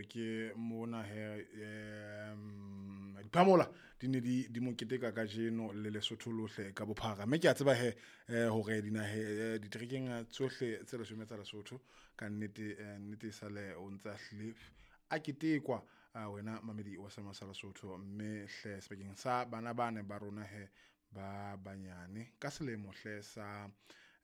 Ke mona he diphamola di ne di mo keteka kajeno le Lesotho lohle ka bophara. Mme ke a tseba he hore dinahe diterekeng tsohle tse leshome tsa Lesotho ka nnete, nnete sale o ntsa hlile a ketekwa wena mamedi wa sema sa Lesotho. Mme hle sebakeng sa bana bane ba rona he ba banyane ka selemo hle sa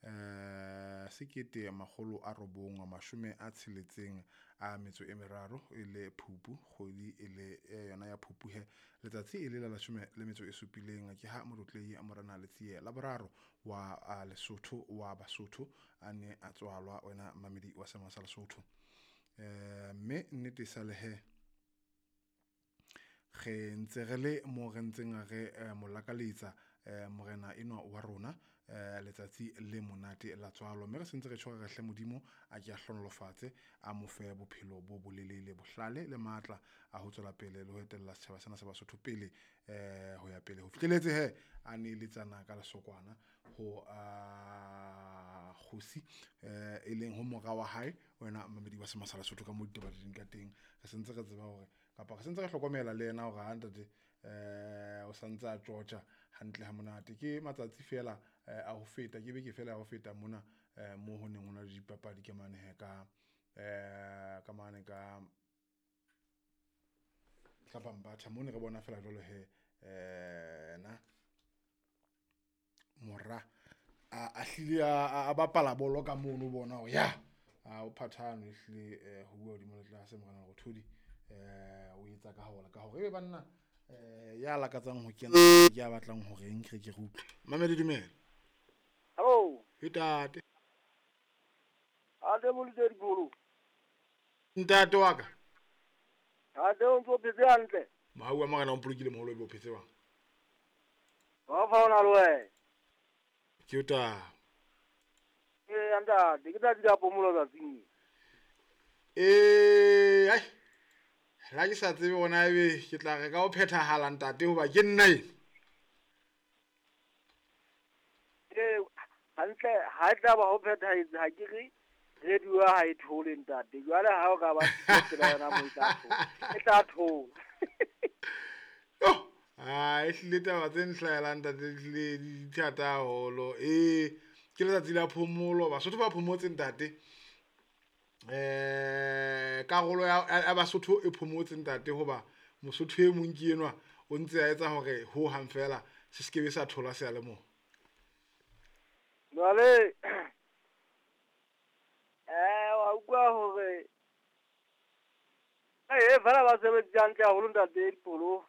1963 e le Phupu, kgwedi e le yona ya Phupu he, letsatsi e le la 17, ke ha Motlotlehi Morena Letsie la boraro wa Lesotho wa Basotho a ne a tswalwa, wena mamedi wa sema sa Lesotho. Mme nnete sale he re ntse re le mo re ntseng re mo lakaletsa morena enwa wa rona letsatsi le monate la tswalo. Mme re sentse re tjho re hle Modimo a ke a hlonolofatse, a mo fe bophelo bo bolelele, bohlale le matla a ho tswela pele le ho etella setjhaba sena sa Basotho pele ho ya pele ho fihlelletse he a neletsana ka lesokwana ho kgosi e leng ho mora wa hae, wena mamedi wa sema sa Lesotho. Ka mo ditaba di leng ka teng, re sentse re tseba hore kapa re sentse re hlokomela le yena hore ha ntate o santse a tjotja hantle ha monate. Ke matsatsi fela a ho feta, ke beke fela ya ho feta mona mo ho neng ho na le dipapadi ka mane he ka ka mane ka ka Bambatha mo ne re bona fela jwalo he na mora a hlile a bapala bolo ka mono, bona hore ya o phathano e hlile ho bua hodimo le tlase. Morena Lerothodi o etsa ka hore ka hore ebe banna ya lakatsang ho kena ke ya batlang hore eng ke re ke re utlwe. Mamedi dumela. Hello. Ntate. Ate boletse dikolo. Ntate wa ka. Ate o ntso phetse hantle. Mohau wa morena o mpolokile moholo, ebe o phetse jwang? Wa fa ona le wena. Ke o taba. Ee ntate, ke tsatsi la phomolo tsatsing. Ee, ai. La ke sa tsebe hore na ebe ke tla re ka ho phethahala ntate hoba ke nna ena. Ee, hantle ha e tla ba ho phethahetse, ha ke re radio ya ha e thole ntate. Jwale ha o ka ba tsela yona mo e tla thola. E tla thola. Oh, ah, e hlile taba tse nhlahelang ntate di hlile di thata haholo. Ee, ke letsatsi la phomolo, Basotho ba phomotse ntate. Karolo ya Basotho e phomotse ntate hoba Mosotho e mong ke enwa o ntse a etsa hore ho hang fela se sekebe sa thola seyalemoya. Jwale wa utlwa hore fela ba sebeditse hantle haholo ntate Dipolo.